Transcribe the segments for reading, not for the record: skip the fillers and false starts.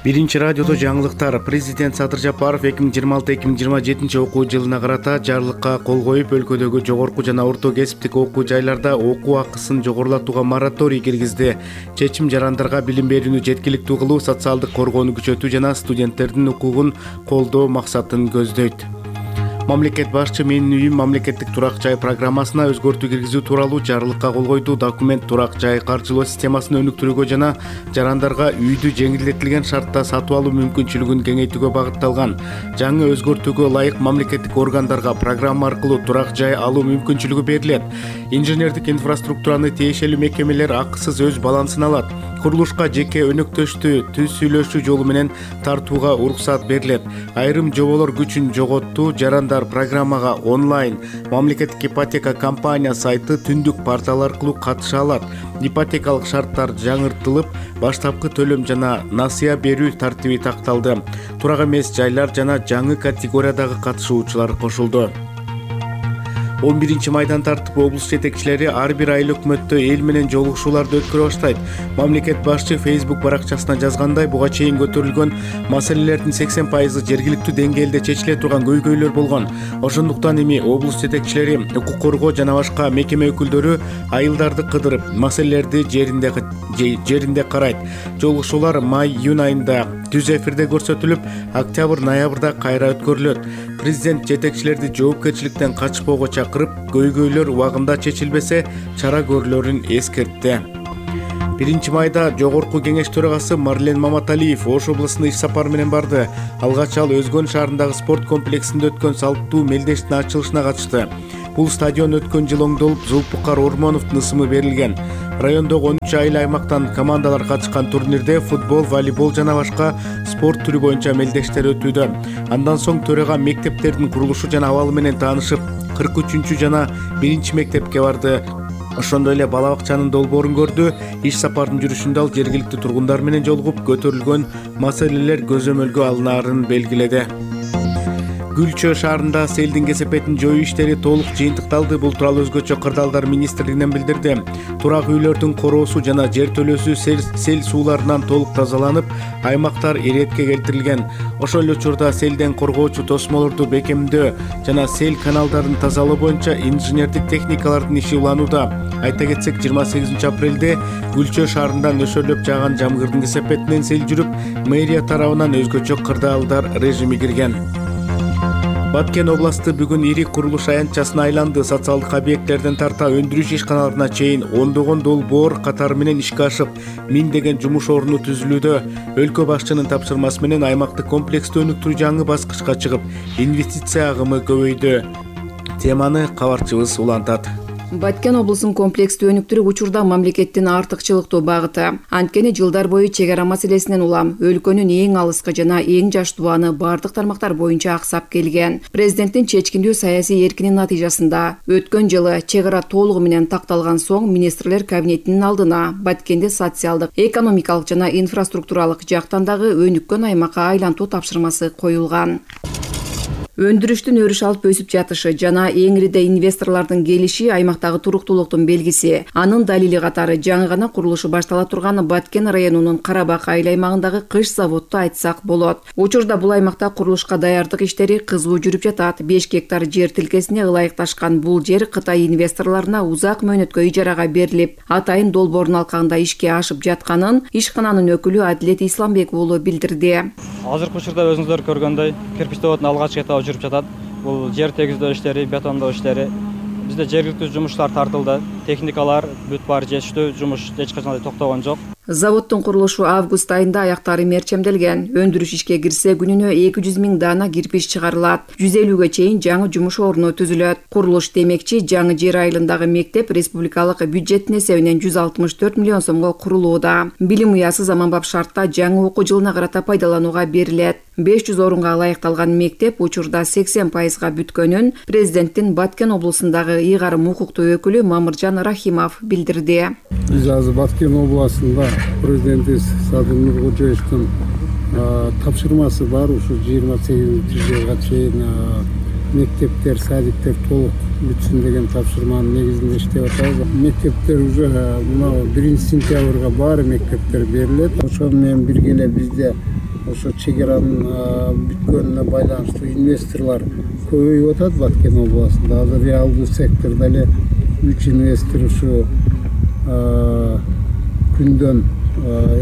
Биринчи радиодо жаңылыктар. Президент Садыр Жапаров 2026-2027 окуу жылына карата жарлыкка кол коюп, өлкөдөгү жогорку жана орто кесиптик окуу жайларда окуу акысын жогорулатууга мораторий киргизди. Чечим жарандарга билим берүүнү жеткиликтүү кылуу, социалдык коргоону күчөтүү жана студенттердин укугун колдоо максатын көздөйт. Мамлекет башчы «Менин үйүм» мамлекеттик турак жай программасына өзгөртүү киргизүү тууралуу жарлыкка кол койду. Документ турак жай каржылоо системасын өнүктүрүүгө жана жарандарга үйдү жеңилдетилген шартта сатып алуу мүмкүнчүлүгүн кеңейтүүгө багытталган. Жаңы өзгөртүүгө ылайык мамлекеттик органдарга программа аркылуу турак жай алуу мүмкүнчүлүгү берилет. Инженердик инфраструктураны тиешелүү мекемелер акысыз өз балансына алат. Курулушка жеке өнөктөштү түз сүйлөшүү жолу менен тартууга уруксат берилет. Айрым жоболор күчүн жоготту. Жарандар программага онлайн мамлекеттик ипотека компания сайты түндүк портал аркылуу катыша алат. Ипотекалык шарттар жаңыртылып, баштапкы төлөм жана насыя берүү тартиби такталды. Турак эмес жайлар жана жаңы категориядагы катышуучулар кошулду. 11 майдан тартып облус жетекчилери ар бир айыл өкмөттө эл менен жолугушууларды өткөрө баштайт. Мамлекет башчы Facebook баракчасына жазгандай, буга чейин көтөрүлгөн маселелердин 80% жергиликтүү деңгээлде чечиле турган көйгөйлөр болгон. Ошондуктан эми облус жетекчилери, укук коргоо жана башка мекеме өкүлдөрү айылдарды кыдырып, маселелерди жеринде карайт. Жолугушуулар май-июнь айында түз эфирде көрсөтүлүп, октябрь-ноябрда кайра өткөрүлөт. Президент жетекчилерди жоопкерчиликтен качпоого чакырып, көйгөйлөр убагында чечилбесе, чара көрүлөрүн эскертти. 1 майда Жогорку кеңеш төрагасы Марлен Маматалиев Ош облусуна иш сапар менен барды. Алгач ал Өзгөн шаарындагы спорт комплексинде өткөн салттуу мелдештин ачылышына катышты. Бул стадион өткөн жыл оңдолуп, Зулпукар Ормоновдун ысымы берилген. Райондогу 13 айыл аймактан командалар катышкан турнирде футбол, волейбол жана башка спорт түрү боюнча мелдештер өтүүдө. Андан соң төрага мектептердин курулушу жана абалы менен таанышып, 43 жана 1 мектепке барды. Ошондой эле бала бакчанын долбоорун көрдү. Иш сапардын жүрүшүндө ал жергиликтүү тургундар менен жолугуп, көтөрүлгөн маселелер көзөмөлгө алынаарын белгиледи. Гүлчө шаарында селдин кесепетин жоюу иштери толук жыйынтыкталды. Бул тууралуу өзгөчө кырдаалдар министрлигинен билдирди. Турак үйлөрдүн короосу жана жер төлөөсү сел сууларынан толук тазаланып, аймактар иретке келтирилген. Ошол эле учурда селден коргоочу тосмолорду бекемдөө жана сел каналдарын тазалоо боюнча инженердик техникалардын иши уланууда. Айта кетсек, 28 апрелде Гүлчө шаарында нөшөрлөп жааган жамгырдын кесепетинен сел жүрүп, мэрия тарабынан өзгөчө кырдаалдар режими кирген. Баткен областы бүгүн ири курулуш аянтчасына айланды. Социалдык объекттерден тарта өндүрүш ишканаларына чейин ондогон долбоор катары менен ишке ашып, миңдеген жумуш орну түзүлүүдө. Өлкө башчынын тапшырмасы менен аймактык комплексти өнүктүрүү жаңы баскычка чыгып, инвестиция агымы көбөйдү. Теманы кабарчыбыз улантат. Баткен облусун комплексти өнүктүрүү учурда мамлекеттин артыкчылыктуу багыты. Анткени жылдар бою чек ара маселесинен улам өлкөнүн эң алыскы жана эң жаш тубаны бардык тармактар боюнча аксап келген. Президенттин чечкиндүү саясий эркинин натыйжасында өткөн жылы чек ара толугу менен такталган соң министрлер кабинетинин алдына Баткенди социалдык, экономикалык жана инфраструктуралык жактан дагы өнүккөн аймакка айлантуу тапшырмасы коюлган. Өндүрүштүн өрүш алып өсүп жатышы жана эңириде инвесторлордун келиши аймактагы туруктуулуктун белгиси. Анын далили катары жаңы гана курулушу баштала турган Баткен районунун Карабак айыл аймагындагы кыш заводду айтсак болот. Учурда бул аймакта курулушка даярдык иштери кызуу жүрүп жатат. 5 гектар жер тилкесине ылайыкташкан бул жер Кытай инвесторлоруна узак мөөнөткө ижарага берилип, атайын долбоордун алкагында ишке ашып жатканын ишкананын өкүлү Адилет Исламбек уулу билдирди. Азыркы учурда өзүңүздөр көргөндөй, кирпич заводунун алгачкы этабы жүрүп жатат. Бул жер тегиздөө иштери, бетондоо иштери. Бизде жергиликтүү жумуштар тартылды. Техникалар бүт баары жетиштүү, жумуш эч качан токтогон жок. Заводдун курулушу август айында аяктары мерчемделген. Өндүрүш ишке кирсе күнүнө 200 000 дана кирпич чыгарылат. 150ге чейин жаңы жумуш орну түзүлөт. Курулуш демекчи, жаңы жер айылындагы мектеп республикалык бюджеттин эсебинен 164 миллион сомго курулууда. Билим уясы заманбап шартта жаңы окуу жылына карата пайдаланууга берилет. 500 орунга ылайыкталган мектеп учурда 80%га бүткөнүн президенттин Баткен облусундагы ыйгарым укуктуу өкүлү Мамыржан Рахимов билдирди. Биз азыр Баткен областында президентибиз Садыр Нуркожоевдун тапшырмасы бар. Ушу 28-жылга чейин мектептер, садиктер толук бүтсүн деген тапшырманын негизинде иштеп атабыз. Мектептер уже мына 1 сентябрга баары мектептер берилет. Ошону менен бирге эле бизде ошо чегеранын бүткөнүнө байланыштуу инвесторлор көбөйүп атат Баткен областында. Азыр реалдуу сектордо эле 3 инвестор ушу күндөн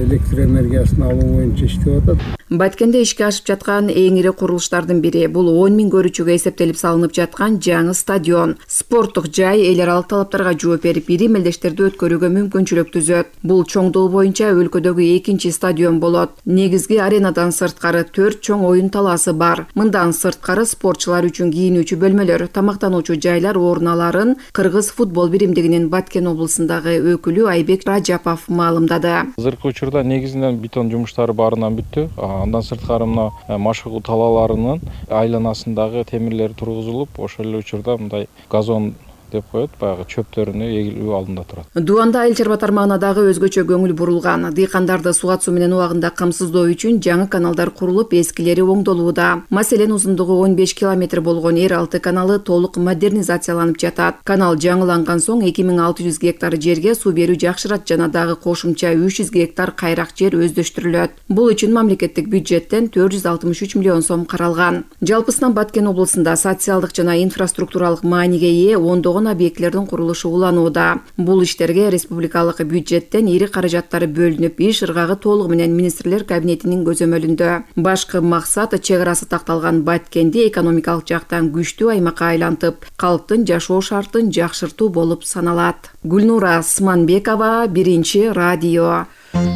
электр энергиясын алуу боюнча иштеп атат. Баткенде ишке ашып жаткан эң ири курулуштардын бири бул 10 000 көрүүчүгө эсептелип салынып жаткан жаңы стадион. Спорттук жай эл аралык талаптарга жооп берип, ири мелдештерди өткөрүүгө мүмкүнчүлүк түзөт. Бул чоңдугу боюнча өлкөдөгү экинчи стадион болот. Негизги аренадан сырткары 4 чоң оюн талаасы бар. Мындан сырткары спортчулар үчүн кийинүүчү бөлмөлөр, тамактануучу жайлар орун аларын Кыргыз футбол биримдигинин Баткен облусундагы өкүлү Айбек Ражапов маалымдады. Азыркы учурда негизинен бетон жумуштары баарынан бүттү. Андан сырткары мына машыгуу талааларынын айланасындагы темирлер тургузулуп, ошол эле учурда мындай газон деп коет, баягы чөптөрүнү эгилүү алдында турат. Дуанда айыл чарба тармагына дагы өзгөчө көңүл бурулган. Дыйкандарды суга суу менен убагында камсыздоо үчүн жаңы каналдар курулуп, эскилери оңдолууда. Маселен, узундугу 15 километр болгон Эр-Алты каналы толук модернизацияланып жатат. Канал жаңыланган соң 2600 гектар жерге суу берүү жакшырат жана дагы кошумча 300 гектар кайрак жер өздөштүрүлөт. Бул үчүн мамлекеттик бюджеттен 463 миллион сом каралган. Жалпысынан Баткен облусунда социалдык жана инфраструктуралык мааниге ээ ондогон объектлердин курулушу уланууда. Бул иштерге республикалык бюджеттен ири каражаттар бөлүнүп, иш ыргагы толугу менен министрлер кабинетинин көзөмөлүндө. Башкы максат чек арасы такталган Баткенди экономикалык жактан күчтүү аймакка айлантып, калктын жашоо шартын жакшыртуу болуп саналат. Гүлнура Сманбекова, Биринчи радио.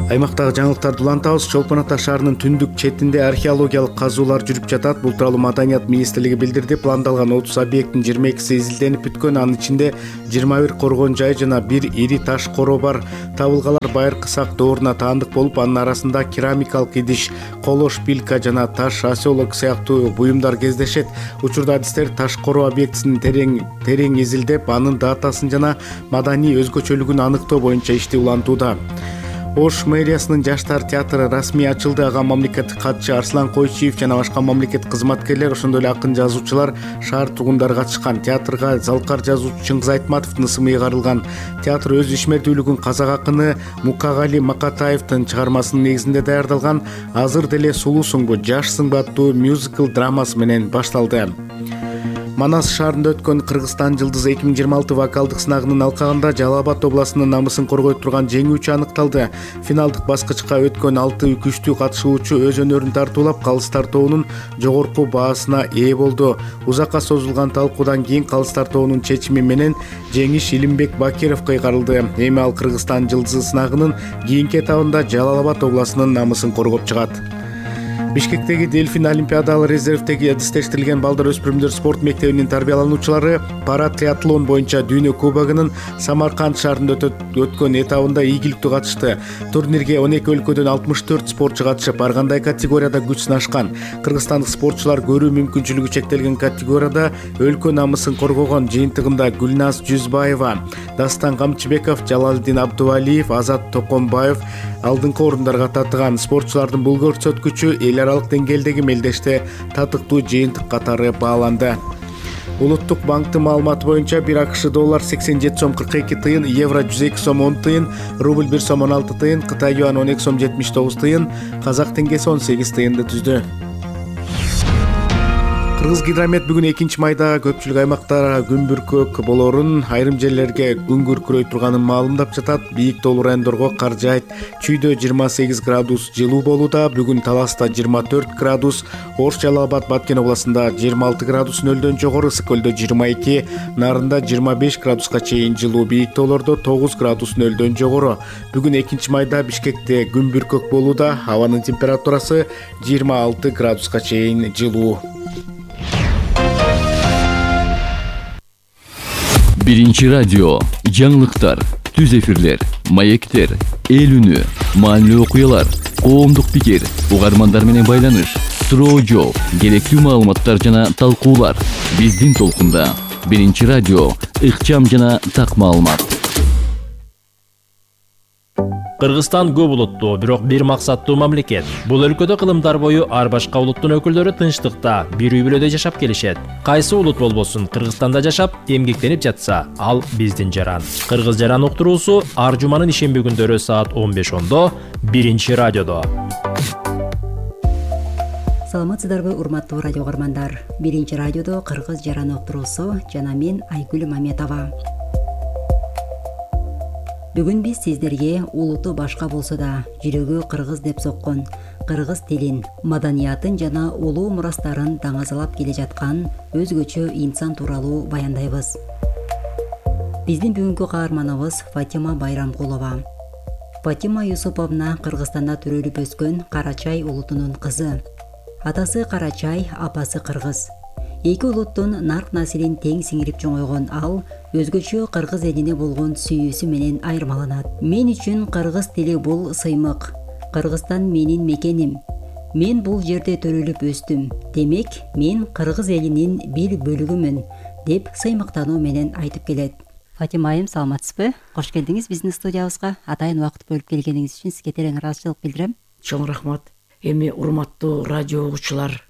Аймактагы жаңылыктарды улантабыз. Чолпон Ата шаарынын түндүк четинде археологиялык казуулар жүрүп жатат. Бул тууралуу Маданият министрлиги билдирди. Пландалган 30 объекттин 22си изилденип бүткөн. Анын ичинде 21 коргон жай жана 1 ири таш коро бар. Табылгалар байыркы сак дооруна таандык болуп, анын арасында керамикалык идиш, коло шпилька жана таш оселок сыяктуу буюмдар кездешет. Учурда адистер таш коро объектисин терең изилдеп, анын датасын жана маданий өзгөчөлүгүн аныктоо боюнча ишти улантууда. Ош мэриясынын жаштар театры расмий ачылды. Ага мамлекеттик катчы Арслан Койчиев жана башка мамлекет кызматкерлер, ошондой эле акын жазуучулар, шаар тургундары катышкан. Театрга залкар жазуучу Чыңгыз Айтматовдун ысымы ыйгарылган. Театр өз ишмердүүлүгүн казак акыны Мукагали Макатаевдин чыгармасынын негизинде даярдалган Азыр деле сулуусуңбу, жашсыңбы аттуу мюзикл драмасы менен башталды. Манас шаарында өткөн Кыргызстан жылдызы 2026 вокалдык сынагынын алкагында Жалал Абад областынын намысын коргой турган жеңүүчү аныкталды. Финалдык баскычка өткөн 6 күчтүү катышуучу өз өнөрүн тартуулап, калыстар тобунун жогорку баасына ээ болду. Узакка созулган талкуудан кийин калыстар тобунун чечими менен жеңиш Илимбек Бакировго ыйгарылды. Эми ал Кыргызстан жылдызы сынагынын кийинки этабында Жалал Абад областынын намысын коргоп чыгат. Бишкектеги Дельфин олимпиадалык резервдеги адистештирилген балдар өспүрүмдөр спорт мектебинин тарбиялануучулары пара триатлон боюнча дүйнө кубогунун Самарканд шаарында өткөн этабында ийгиликтүү катышты. Турнирге 12 өлкөдөн 64 спортчу катышып, ар кандай категорияда күч сынашкан. Кыргызстандык спортчулар көрүү мүмкүнчүлүгү чектелген категорияда өлкө намысын коргогон. Жыйынтыгында Гүлназ Жүзбаева, Дастан Камчыбеков, Жалалдин Абдувалиев, Азат Токомбаев алдыңкы орундарга татыган. Спортчулардын бул көрсөткүчү эл аралык деңгээлдеги мелдеште татыктуу жыйынтык катары бааланды. Улуттук банктын маалыматы боюнча 1 АКШ доллар 87 сом 42 тыйын, евро 102 сом 10 тыйын, рубль 1 сом 16 тыйын, Кытай юан 12 сом 79 тыйын, казак теңгеси 18 тыйынды түздү. Кыргыз Гидромет бүгүн 2-майда көпчүлүк аймактарга күн бүркөк болорун, айрым жерлерге күн күркүрөй турганын маалымдап жатат. Бийик тоолуу райондорго кар жаайт. Чүйдө 28 градус жылуу болууда. Бүгүн Таласта 24 градус, Ош, Жалал Абад, Баткен областында 26 градус нөлдөн жогору, Ысык көлдө 22, Нарында 25 градуска чейин жылуу, бийик тоолордо 9 градус нөлдөн жогору. Бүгүн 2-майда Бишкекте күн бүркөк болууда. Абанын температурасы 26 градуска чейин жылуу. Биринчи радио, жаңылыктар, түз эфирлер, маектер, эл үнү, маанилүү окуялар, коомдук пикир, угармандар менен байланыш, суроо жооп, керектүү маалыматтар жана талкуулар. Биздин толкунда. Биринчи радио, ыкчам жана так маалымат. Кыргызстан көп улуттуу, бирок бир максаттуу мамлекет. Бул өлкөдө кылымдар бою ар башка улуттун өкүлдөрү тынчтыкта, бир үй бүлөдө жашап келишет. Кайсы улут болбосун, Кыргызстанда жашап, эмгектенип жатса, ал биздин жаран. Кыргыз жаран уктуруусу ар жуманын ишемби күндөрү саат 15:10 Биринчи радиодо. Саламатсыздарбы урматтуу радио угармандар. Биринчи радиодо кыргыз жаран уктуруусу жана мен Айгүл Маметова. Бүгүн биз сиздерге улуту башка болсо да жүрөгү кыргыз деп соккон кыргыз тилин, маданиятын жана улуу мурастарын даңазалап келе жаткан өзгөчө инсан тууралуу баяндайбыз. Биздин бүгүнкү каарманыбыз Фатима Байрамкулова. Фатима Юсуповна Кыргызстанда төрөлүп өскөн Карачай улутунун кызы. Атасы Карачай, апасы кыргыз. Эки улуттун нарк населин тең сиңирип чоңойгон ал өзгөчө кыргыз элине болгон сүйүүсү менен айырмаланат. Мен үчүн кыргыз тили бул сыймык. Кыргызстан менин мекеним. Мен бул жерде төрөлүп өстүм. Демек, мен кыргыз элинин бир бөлүгүмүн, деп сыймыктануу менен айтып келет. Фатима айым, саламатсызбы? Кош келдиңиз биздин студиябызга. Атайын убакыт бөлүп келгениңиз үчүн сизге терең ыраазычылык билдирем. Чоң рахмат. Эми урматтуу радио угуучулар,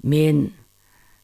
мен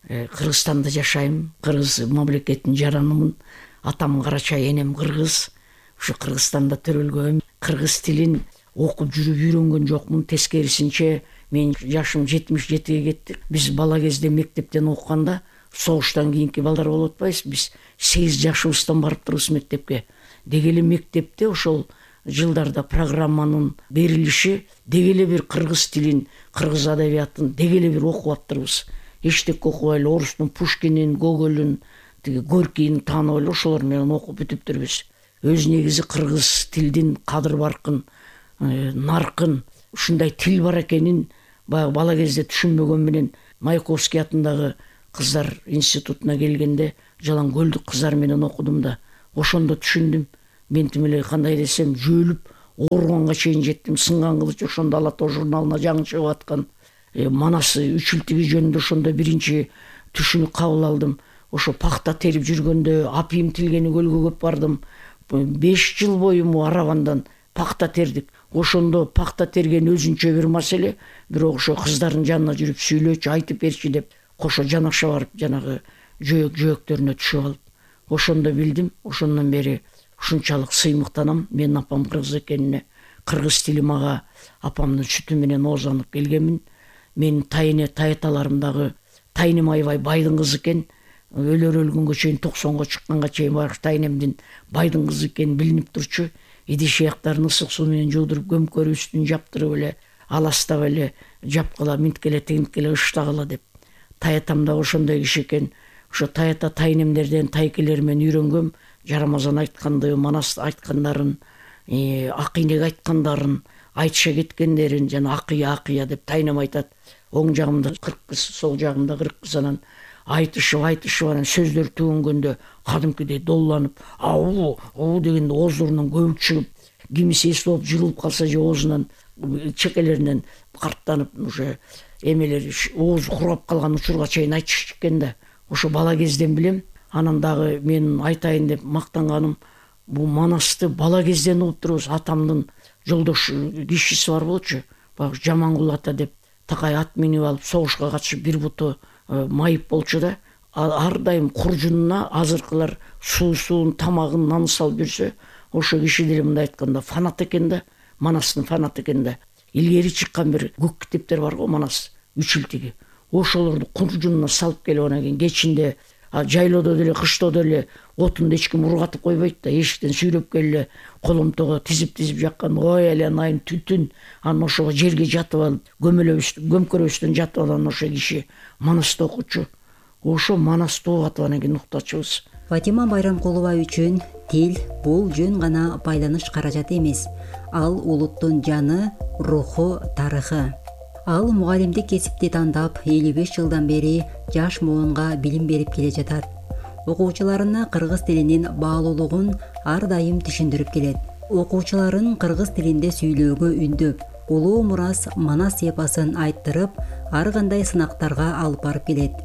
Кыргызстанда жашайм. Кыргыз мамлекетинин жаранымын. Атам Карачай, энем кыргыз. Ушу Кыргызстанда төрөлгөм. Кыргыз тилин окуп жүрүп үйрөнгөн жокмун. Тескерисинче, мен жашым 77-ге кетти. Биз бала кезде мектептен окуганда согуштан кийинки балдар болуп атпайбыз. Биз 8 жашыбыздан барып турбуз мектепке. Деги эле мектепте ошол жылдарда программанын берилиши деги эле бир кыргыз тилин, кыргыз адабиятын деги эле бир окуп аптырбыз. Эчтек окубай эле орустун Пушкинин, Гогольдун, тиги Горькийин таанып эле ошолор менен окуп бүтүптүрбүз. Өз негизи кыргыз тилдин кадыр баркын, наркын, ушундай тил бар экенин баягы бала кезде түшүнбөгөн менен Маяковский атындагы кыздар институтуна келгенде Жалаң көлдүк кыздар менен окудум да, ошондо түшүндүм. Мен тим эле кандай десем жөөлүп ооруганга чейин жеттим. Сынган кылыч ошондо Ала Тоо журналына жаңы чыгып аткан Манасы үчүлтүгү жөнүндө ошондо биринчи түшүнүк кабыл алдым. Ошо пахта терип жүргөндө Апийим Тилгени көлгө көп бардым. 5 жыл бою аравандан пахта тердик. Ошондо пахта терген өзүнчө бир маселе, бирок ошо кыздардын жанына жүрүп сүйлөчү, айтып берчи деп кошо жанаша барып жанагы жөөктөрүнө түшүп алып, ошондо билдим. Ошондон бери ушунчалык сыймыктанам. Мен апам кыргыз экенине, кыргыз тили мага апамдын сүтү менен оозданып келгенмин. Мен таяталарымдагы Тайнем Айбай байдын кызы экен. Өлгөнгө чейин 90го чыкканга чейин Тайнемдин байдын кызы экени билинип турчу. Идиш аяктарын ысык суу менен жуудуруп, көмкөрү үстүн жаптырып эле, аластап эле, жапкыла, минткеле, тигинткеле, ыштагыла деп. Таятам да ошондой киши экен. Ошо таята тайнемдерден, тайкелер менен үйрөнгөм. Жарамазан айтканды, Манас айткандарын, Акыйнек айткандарын, айтыша кеткендерин, жана акыя деп Тайнем айтат. Оң жагымда 40 кыз, сол жагымда 40 кыз, анан айтышып анан сөздөр түгөнгөндө кадимкидей долланып, ау дегенде оозлорунан көбүк чыгып, кимиси эс болуп жылып калса же оозунан, чекелеринен карттанып, уже эмелери оозу курап калган учурга чейин айтышты экен да. Ошо бала кезден билем. Анан дагы мен айтайын деп мактанганым, бул Манасты бала кезден угуп турбуз. Атамдын жолдош кишиси бар болчу, баягы Жамангул ата деп, такай ат минип алып согушка катышып бир буту майып болчу да. Ар дайым куржунуна азыркылар суусун, тамагын, наны салып жүрсө, ошо киши деле мындай айтканда фанат экен да, Манастын фанат экен да. Илгери чыккан бир көк китептер бар го, Манас үчүлтүгү. Ошолорду куржунуна салып келип, анан кийин кечинде жайлоодо деле, кыштоодо деле отунду эч ким ургатып койбойт да, эшиктен сүйрөп келе коломтого тизип жаккан, ой эле айын түтүн. Анан ошого жерге жатып алып, көмкөрөбүздөн жатып алган ошо киши Манасты окучу. Ошо Манасты угатып анан кийин уктачубуз. Фатима Байрамкулова үчүн тил бул жөн гана байланыш каражаты эмес. Ал улуттун жаны, руху, тарыхы. Ал мугалимдик кесипти тандап 55 жылдан бери жаш муунга билим берип келе жатат. Окуучуларына кыргыз тилинин баалуулугун ар дайым түшүндүрүп келет. Окуучуларын кыргыз тилинде сүйлөөгө үндөп, улуу мурас Манас эпосын айттырып, ар кандай сынактарга алып барып келет.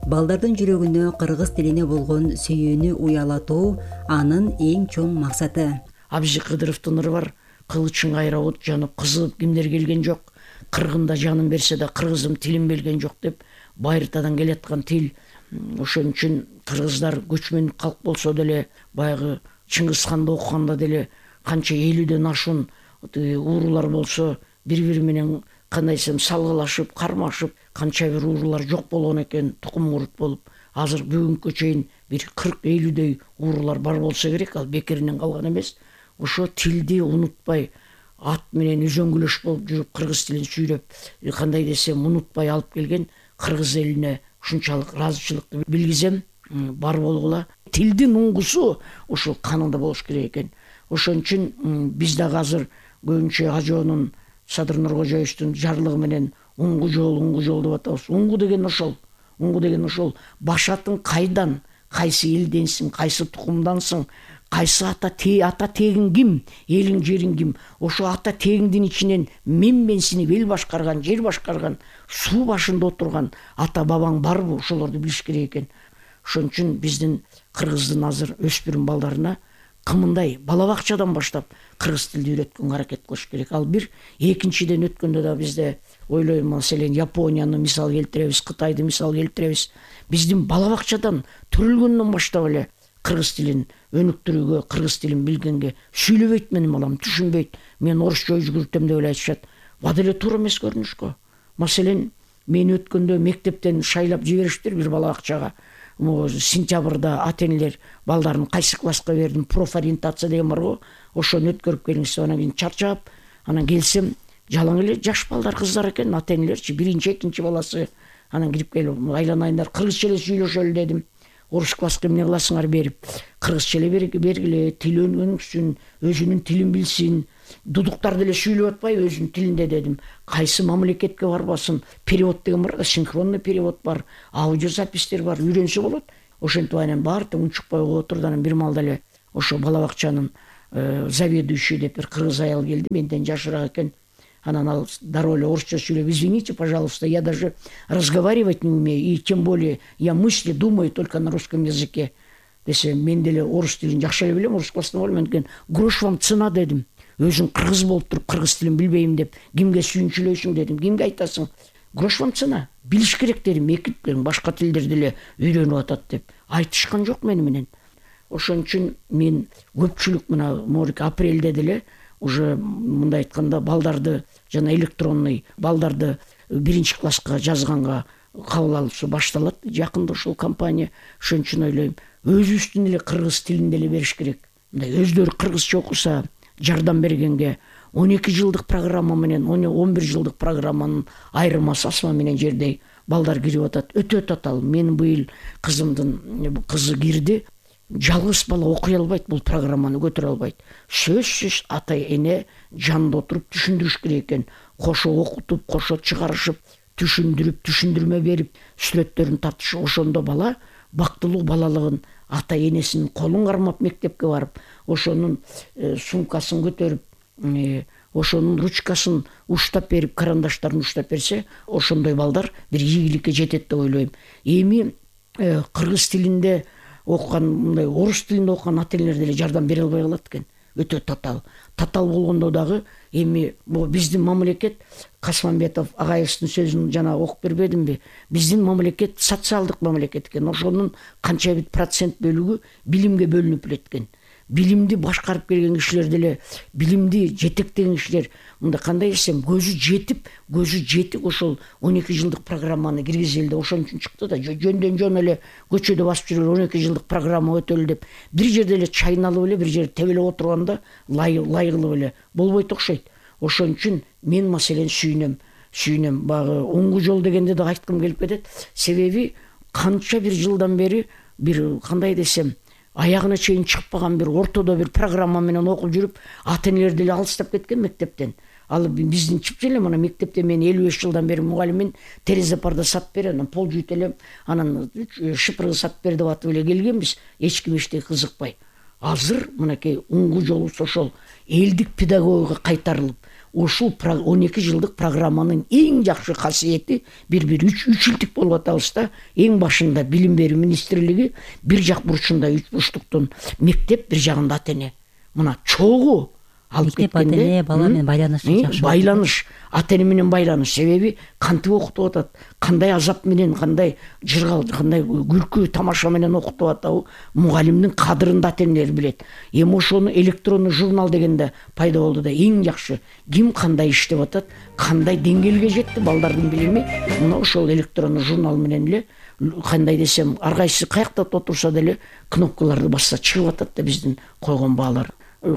Балдардын жүрөгүнө кыргыз тилине болгон сүйүүнү уялатуу анын эң чоң максаты. Абзи Кыдыровдун ыры бар, кылычың кайра от жанып кызып кимдер келген жок. Кыргында жанын берсе да кыргызым тилин белген жок деп байыртадан келаткан тил. Ошон үчүн кыргыздар көчмөн калк болсо деле, баягы Чыңгызханды окуганда деле канча 50ден ашуун уурулар болсо, бири-бири менен кандай десем салгылашып, кармашып, канча бир уурулар жок болгон экен, тукум курут болуп. Азыр бүгүнкү чейин бир 40-50 уурулар бар болсо керек, ал бекеринен калган эмес. Ошо тилди унутпай, ат менен үзөңгүлөш болуп жүрүп, кыргыз тилин сүйлөп, кандай десем унутпай алып келген кыргыз элине ушунчалык ыраазычылыкты билгизем. Бар болгула. Тилдин уңгусу ушул канында болуш керек экен. Ошон үчүн биз дагы азыр көбүнчө ажоонун Садыр Нуркожоевичтин жарлыгы менен уңгу жол деп атабыз. Уңгу деген ошол. Уңгу деген ошол. Башатын кайдан, кайсы элденсиң, кайсы тукумдансың, кайсы ата тегиң ким, элиң жериң ким. Ошо ата тегиңдин ичинен менсинип эл башкарган, жер башкарган, суу башында отурган ата бабаң барбы? Ошолорду билиш керек экен. Ошон үчүн биздин кыргыздын азыр өспүрүм балдарына кымындай бала бакчадан баштап кыргыз тилди үйрөткөнгө аракет кылыш керек. Ал бир. Экинчиден өткөндө да бизде ойлойм, маселен Японияны мисал келтиребиз, Кытайды мисал келтиребиз. Биздин бала бакчадан төрөлгөндөн баштап эле кыргыз тилин өнүктүрүүгө, кыргыз тилин билгенге, сүйлөбөйт менин балам, түшүнбөйт. Мен орусча өзгөртөм деп эле айтышат. Бада эле туура эмес көрүнүшкө. Маселен, мен өткөндө мектептен шайлап жибериштир бир бала бакчага. Сентябрда ата-энелер балдарын кайсы класска бердим, профориентация деген бар го. Ошону өткөрүп келиңиз деп, анан кийин чарчап, анан келсем, жалаң эле жаш балдар, кыздар экен, ата-энелерчи, биринчи, экинчи баласы. Анан кирип келип, айланайындар, кыргызча эле сүйлөшөлү дедим. Орус класска эмне кыласыңар берип, кыргызча эле бергиле, тил өнүксүн, өзүнүн тилин билсин. Дудуктарды эле сүйлөп атпайбы өзүнүн тилинде дедим. Кайсы мамлекетке барбасын, перевод деген бар да, синхронный перевод бар, аудиозапистер бар, үйрөнсө болот. Ошентип анан баары тең унчукпай угуп отурду. Анан бир маалда эле ошо бала бакчанын заведующий деп бир кыргыз аял келди, менден жашыраак экен. Анан ал дароо эле орусча сүйлөп: "Извините, пожалуйста, я даже разговаривать не умею, и тем более я мысли думаю только на русском языке." Десе, мен деле орус тилин жакшы эле билем, орус класстан болом. Мен грош вам цена дедим. Өзүң кыргыз болуп туруп кыргыз тилин билбейм деп кимге сүйүнчүлөйсүң дедим. Кимге айтасың? Грош вам цена. Билиш керек дедим. Мектептен башка тилдерди эле үйрөнүп атат деп айтышкан жок мени менен. Ошон үчүн мен көпчүлүк мына апрелде деле уже мындай айтканда балдарды жана электронный балдарды биринчи класска жазганга кабыл алуусу башталат. Жакында ушул компания. Ошон үчүн ойлойм, өзүбүздүн эле кыргыз тилинде эле бериш керек. Мындай өздөрү кыргызча окуса, жардам бергенге 12 жылдык программа менен 11 жылдык программанын айырмасы асма менен жердей балдар кирип атат. Өтө татаал. Мен быйыл кызымдын кызы кирди. Жалгыз бала окуй албайт, бул программаны көтөрө албайт. Сөзсүз ата-эне жанында отуруп түшүндүрүш керек экен. Кошо окутуп, кошо чыгарышып, түшүндүрүп, түшүндүрмө берип, сүрөттөрүн тартышып, ошондо бала бактылуу балалыгын ата-энесинин колун кармап мектепке барып, ошонун сумкасын көтөрүп, ошонун ручкасын уштап берип, карандаштарын уштап берсе, ошондой балдар бир ийгиликке жетет деп ойлойм. Эми кыргыз тилинде окуган, мындай орус тилинде окуган ата-энелер деле жардам бере албай калат экен. Өтө татаал. Татаал болгондо дагы эми биздин мамлекет, Касманбетов агайыбыздын сөзүн жана окуп бербедимби? Биздин мамлекет социалдык мамлекет экен. Ошонун канча бир процент бөлүгү билимге бөлүнүп экен. Билимди башкарып келген кишилер деле, билимди жетектеген кишилер, мында кандай десем, көзү жетик ошол 12 жылдык программаны киргизелди. Ошон үчүн чыкты да, жөндөн жөн эле көчөдө басып жүргөн 12 жылдык программа өтөлү деп, бир жерде эле чайналып эле, бир жерде тебелеп отурганда лайыгылып эле болбойт окшойт. Ошон үчүн мен маселен сүйүнөм. Багы оңгу жол дегенде да айткым келип кетет. Себеби канча бир жылдан бери бир кандай десем, аягына чейин чыкпаган бир ортодо бир программа менен окуп жүрүп, ата-энелер деле алыстап кеткен мектептен. Ал биздин чипчи эле, мына мектепте мен 55 жылдан бери мугалиммин, терезе парда сап бер, анан пол жуйт элем, анан шыпыргы сап бер деп атып эле келгенбиз, эч ким эчтеге кызыкпай. Азыр мынакей уңгу жолубуз ошол элдик педагогика кайтарылып, ушул 12 жылдык программанын эң жакшы касиети бир 3 жылдык болуп атабыз да. Эң башында билим берүү министрлиги, бир жак бурчунда 3 бурчтуктун мектеп, бир жагында ата-эне. Мына чогуу алып мектеп ата эне бала менен байланышы жакшы. Байланыш, ата эне менен байланыш. Себеби кантип окутуп атат, кандай азап менен, кандай жыргал, кандай күлкү тамаша менен окутуп атабы, мугалимдин кадырын да ата энелер билет. Эми ошону электрондуу журнал дегенде пайда болду да эң жакшы ким кандай иштеп атат, кандай деңгээлге жетти балдардын билими, мына ошол электрондуу журнал менен эле кандай десем, ар кайсы каякта отурса деле кнопкаларды басса чыгып атат да биздин койгон баалар.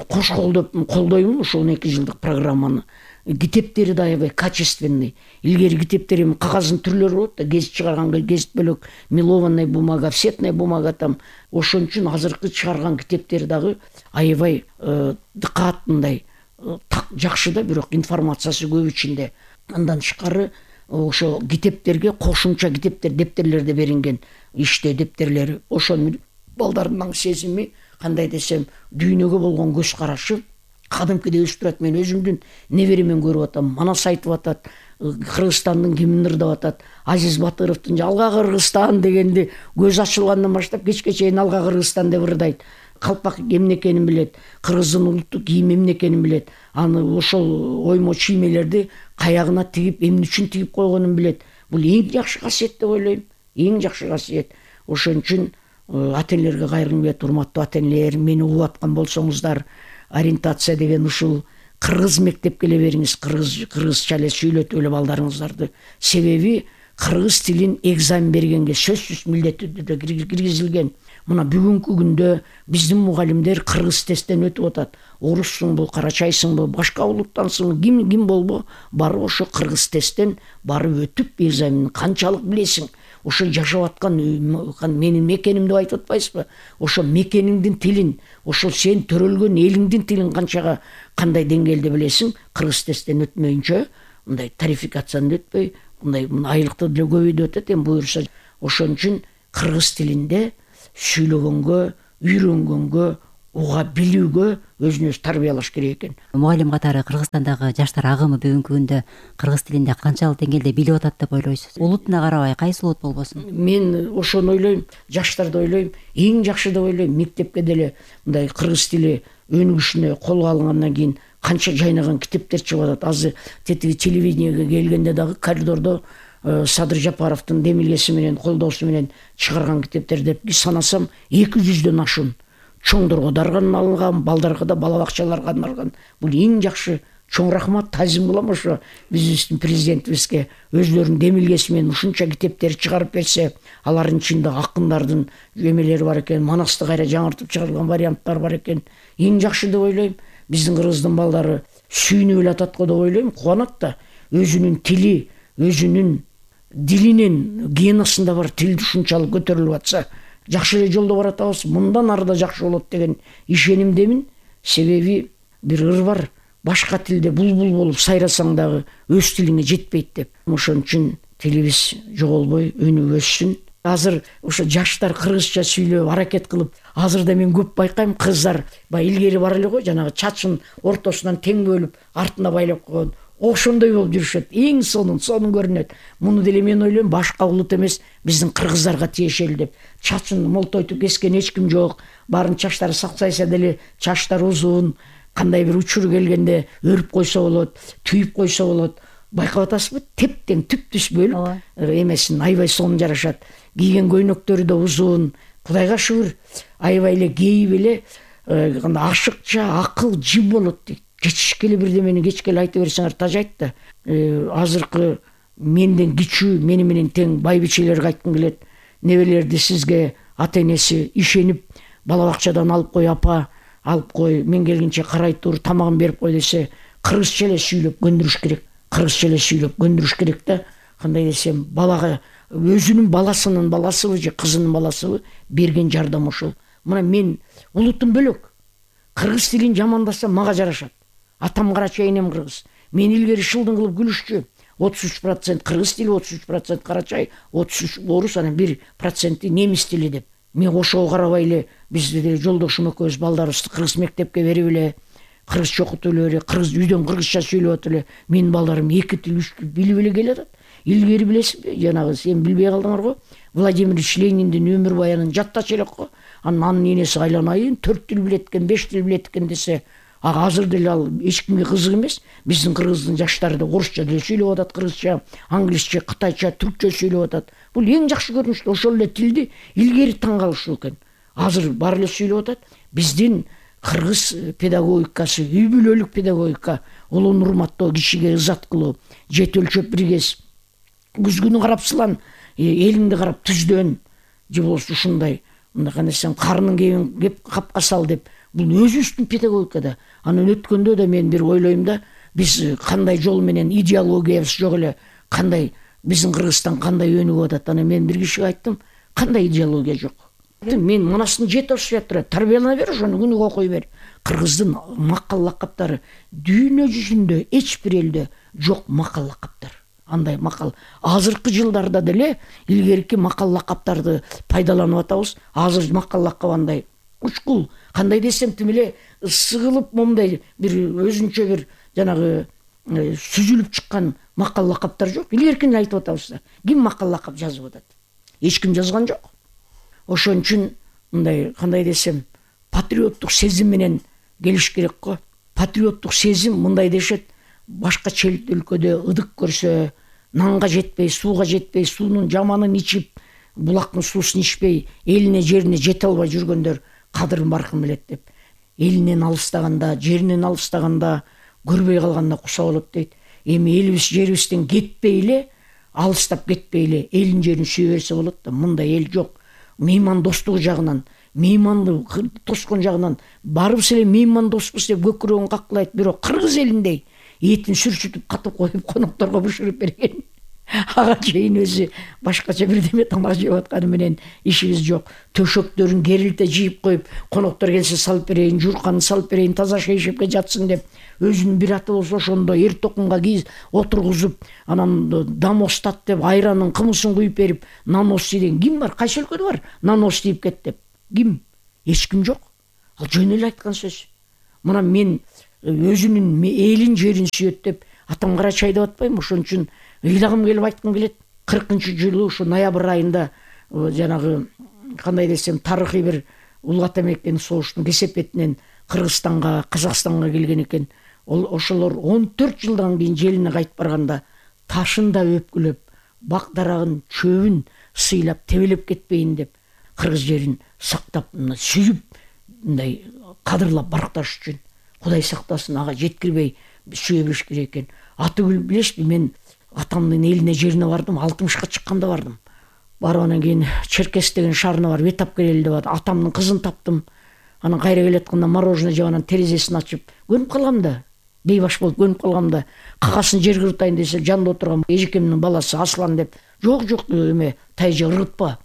Кош колдоймун ошол 2 жылдык программаны. Китептери да аябай качественный. Илгери китептер эми кагаздын түрлөрү болот да, гезит чыгарган гезит бөлөк, мелованный бумага, офсетная бумага там. Ошон үчүн азыркы чыгарган китептер дагы аябай дыкаатындай жакшы да, бирок информациясы көп ичинде. Андан тышкары ошо китептерге кошумча китептер, дептерлерде берилген иштөө дептерлери. Ошонун балдардын сезими, кандай десем, дүйнөгө болгон көз карашы кадимкидей өсүп турат. Мен өзүмдүн неберемен көрүп атам. Манас айтып атат, Кыргызстандын гимнин ырдап атат. Азиз Батыровдун алга Кыргызстан дегенди көз ачылгандан баштап кечке чейин алга Кыргызстан деп ырдайт. Калпак эмне экенин билет, кыргыздын улуттук кийими эмне экенин билет. Аны ошол оймо чиймелерди каягына тигип, эмне үчүн тигип койгонун билет. Бул эң жакшы касиет деп ойлойм. Эң жакшы касиет. Ошон үчүн ата энелерге кайрылгым келет. Урматтуу ата энелер, мени угуп аткан болсоңуздар, ориентация деген ушул кыргыз мектепке эле бериңиз, кыргызча эле сүйлөтүп эле балдарыңыздарды. Себеби кыргыз тилин экзамен бергенге сөзсүз милдеттүү түрдө киргизилген. Мына бүгүнкү күндө биздин мугалимдер кыргыз тесттен өтүп атат. Оруссуңбу, карачайсыңбы, башка улуттансыңбы, ким болбо, барып ошо кыргыз тесттен барып өтүп экзаменди канчалык билесиң. Ошо жашап аткан менин мекеним деп айтып атпайсызбы? Ошо мекениңдин тилин, ошо сен төрөлгөн элиңдин тилин канчага кандай деңгээлде билесиң? Кыргыз тесттен өтмөйүнчө, мындай тарификацияны өтпөй, мындай айлыкты деле көбөйдүп атат, эми буюрса. Ошон үчүн кыргыз тилинде сүйлөгөнгө, үйрөнгөнгө, уга билүүгө өзүн тарбиялаш керек экен. Мугалим катары Кыргызстандагы жаштар агымы бүгүнкү күндө кыргыз тилинде канчалык деңгээлде билип атат деп ойлойсуз? Улутуна карабай, кайсы улут болбосун? Мен ошону ойлойм, жаштарды ойлойм, эң жакшы деп ойлойм. Мектепке деле мындай кыргыз тили өнүгүшүнө колго алынгандан кийин канча жайнаган китептер чыгып атат. Азыр тетиги телевидениеге келгенде дагы коридордо Садыр Жапаровдун демилгеси менен, колдоосу менен чыгарган китептер деп санасам 200дөн ашуун. Чоңдорго дарганын балдарга да, бала бакчаларга арналган. Бул эң жакшы. Чоң рахмат, тазим кылам ошо биздин президентибизге. Өзлөрүнүн демилгеси менен ушунча китептер чыгарып берсе, алардын ичинде акындардын эмелери бар экен, Манасты кайра жаңыртып чыгарылган варианттар бар экен. Эң жакшы деп ойлойм. Биздин кыргыздын балдары сүйүнүп эле атат го деп ойлойм. Кубанат да. Өзүнүн тили, өзүнүн дилинин геносунда бар тил ушунчалык көтөрүлүп атса, жакшы эле жолдо баратабыз. Мындан ары да жакшы болот деген ишенимдемин. Себеби бир ыр бар. Башка тилде булбул болуп сайрасаң дагы өз тилиңе жетпейт деп. Ошон үчүн тилибиз жоголбой, өнүгүп өссүн. Азыр ошо жаштар кыргызча сүйлөп, аракет кылып, азырда мен көп байкайм, кыздар баягы илгери бар эле го, жанагы чачын ортосунан тең бөлүп, артына байлап койгон. Ошондой болуп жүрүшөт. Эң сонун көрүнөт. Муну деле мен ойлойм, башка улут эмес, биздин кыргыздарга тиешелүү деп. Чачын молтойтуп кескен эч ким жок. Баарын чачтары саксайса деле, чачтар узун, кандай бир учур келгенде өрүп койсо болот, түйүп койсо болот. Байкап атасызбы? Тептең түп-түз бөлүп, эмесин аябай сонун жарашат. Кийген көйнөктөрү да узун. Кудайга шүгүр, аябай эле кейип эле, ашыкча, акыл жим болот дейт. Кечке эле бирдемени кечке эле айта берсеңер тажайт да. Азыркы менден кичүү, мени менен тең байбичелерге айткым келет. Небелерди сизге ата энеси ишенип, бала бакчадан алып кой апа, алып кой, мен келгенче карай тур, тамагын берип кой десе, кыргызча эле сүйлөп көндүрүш керек. Кыргызча эле сүйлөп көндүрүш керек да. Кандай десем, балага өзүнүн баласынын баласыбы же кызынын баласыбы берген жардам ушул. Мына мен улутум бөлөк. Кыргыз тилин жамандасам мага жарашат. Атам карачай, энем кыргыз. Мен илгери шылдың кылып күлүшчү. 33% кыргыз тили, 33% карачай, 33 орус, анан 1% немис тили деп. Мен ошого карабай эле биз деле жолдошум экөөбүз балдарыбызды кыргыз мектепке берип эле, кыргызча окутуп эле, кыргыз үйдөн кыргызча сүйлөп атып эле, менин балдарым 2 тил, 3 тил билип эле келатат. Илгери билесизби, жанагы сен билбей калдыңар го. Владимир Ильич Лениндин өмүр баянын жаттачу элек го. Анын энеси айланайын 4 тил билет экен, 5 тил билет экен десе, Азыр деле ал эч кимге кызык эмес. Биздин кыргыздын жаштары да орусча деле сүйлөп атат, кыргызча, англисче, кытайча, түркчө сүйлөп атат. Бул эң жакшы көрүнүш. Ошол эле тилди илгери таң калыштуу экен. Азыр баары эле сүйлөп атат. Биздин кыргыз педагогикасы, үй бүлөлүк педагогика, улууну урматтоо, кишиге ызат кылуу, жет өлчөп биргес, күзгүнү карап сылан, элиңди карап түздөн, же болбосо ушундай, мындай кандай десем, карынын кебин кеп капка сал деп. Бул өзүбүздүн педагогикада. Анан өткөндө да мен бир ойлойм да, биз кандай жол менен идеологиябыз жок эле, кандай биздин Кыргызстан кандай өнүгүп атат. Анан мен бир кишиге айттым, кандай идеология жок. Мен мунасын жети ашып турат, тарбиялана бер, ошону күнүгө окуй бер. Кыргыздын макал лакаптары дүйнө жүзүндө эч бир элде жок макал лакаптар. Андай макал азыркы жылдарда деле илгерки макал лакаптарды пайдаланып атабыз. Азыр макал лакап андай учкул, кандай десем тим эле сыгылып момундай бир өзүнчө бир жанагы сүзүлүп чыккан макал лакаптар жок. Илгеркини айтып атабыз. Ким макал лакап жазып атат? Эч ким жазган жок. Ошон үчүн мындай кандай десем патриоттук сезим менен келиш керек го. Патриоттук сезим мындай дешет: башка чет өлкөдө ыдык көрсө, нанга жетпей, сууга жетпей, суунун жаманын ичип, булактын суусун ичпей, элине жерине жете албай жүргөндөр кадырын баркын билет деп. Элинен алыстаганда, жеринен алыстаганда, көрбөй калганда куса болот дейт. Эми элибиз жерибизден кетпей эле, алыстап кетпей эле элин жерин сүйө берсе болот да. Мындай эл жок. Мейман достугу жагынан, мейманды тоскон жагынан барыбыз эле мейман доспуз деп көкүрөгүн каклайт. Бирок кыргыз элиндей этин сүрчүтүп катып коюп конокторго бышырып берген ага чейин өзү башкача бирдеме тамак жеп атканы менен ишибиз жок. Төшөктөрүн керилте жийип коюп, коноктор келсе салып берейин, журканы салып берейин, таза шейшепке жатсын деп, өзүнүн бир аты болсо ошондо эр токунга кийиз отургузуп, анан дамостат деп айранын кымысын куюп берип, нанос деген ким бар? Кайсы өлкөдө бар? Нанос тийип кет деп. Ким? Эч ким жок. Ал жөн эле айткан сөз. Мына мен өзүнүн элин жерин сүйөт деп атам Карачай деп атпайм. Ошон үчүн ыйлагым келип айткым келет. 40-жылы ушу ноябрь айында жанагы кандай десем тарыхый бир улуу ата мектептин согуштун кесепетинен Кыргызстанга, Казакстанга келген экен. Ошолор 14 жылдан кийин желине кайтып барганда ташын да өпкүлөп, бак дарагын, чөбүн сыйлап тебелеп кетпейин деп кыргыз жерин сактап, сүйүп, мындай кадырлап баркташ үчүн Кудай сактасын, ага жеткирбей сүйө бериш керек экен. Атыгүл билесизби, мен атамдын элине жерине бардым, 60-ка чыкканда бардым. Барып анан кийин Черкес деген шаарына барып эт алып келели деп атамдын кызын таптым. Анан кайра келатканда мороженое жеп, анан терезесин ачып көнүп калгам да, бейбаш болуп көнүп калгам да, какасын жерге ыргытайын десе, жанында отурган эжекемдин баласы Аслан деп, жок эме тайжа ыргытпа,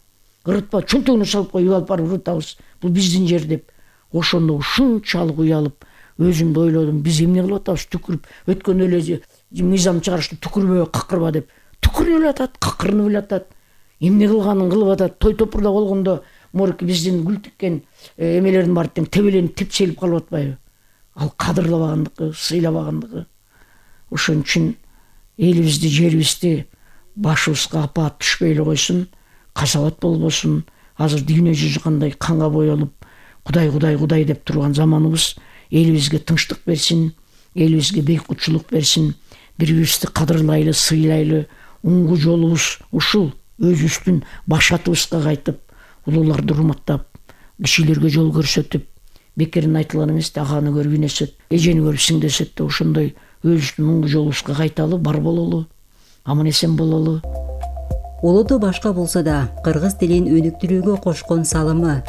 чөнтөгүнө салып коюп алып барып ыргытабыз, бул биздин жер деп. Ошондо ушунчалык уялып, өзүмдү ойлодум, биз эмне кылып атабыз, түкүрүп, өткөн эле мыйзам чыгарышты, түкүрбө, какырба деп. Түкүрүп эле атат, какырынып эле атат. Эмне кылганын кылып атат. Той топурда болгондо морки биздин гүл тиккен эмелердин баары тең тебеленип, тепселип калып атпайбы? Ал кадырлабагандыгы, сыйлабагандыгы. Ошон үчүн элибизди, жерибизди башыбызга апаат түшпөй эле койсун, касабат болбосун. Азыр дүйнө жүзү кандай канга боелуп, Кудай деп турган заманыбыз. Элибизге тынчтык берсин, элибизге бейкутчулук берсин, бири-бирибизди кадырлайлы, сыйлайлы, уңгу жолубуз ушул. Өзүбүздүн баш атыбызга кайтып, улууларды урматтап, кишилерге жол көрсөтүп, бекерин айтылган эмес, аганы көрүп инесет, эжени көрүп сиңдесет деп ошондой өзүбүздүн уңгу жолубузга кайталы, бар бололу, аман эсен бололу. Улуду башка болсо да кыргыз тилин өнүктүрүүгө кошкон салымы,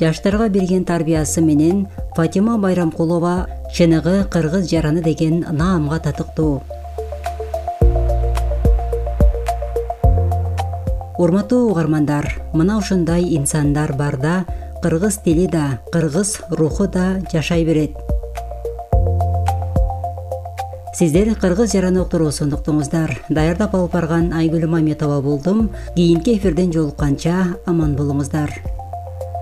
жаштарга берген тарбиясы менен Фатима Байрамкулова чыныгы кыргыз жараны деген наамга татыктуу. Урматтуу угармандар, мына ушундай инсандар барда кыргыз тили да, кыргыз руху да жашай берет. Сиздер кыргыз жараны уктуруусун уктуңуздар. Даярдап алып барган Айгүл Маметова болдум. Кийинки эфирден жолукканча аман болуңуздар.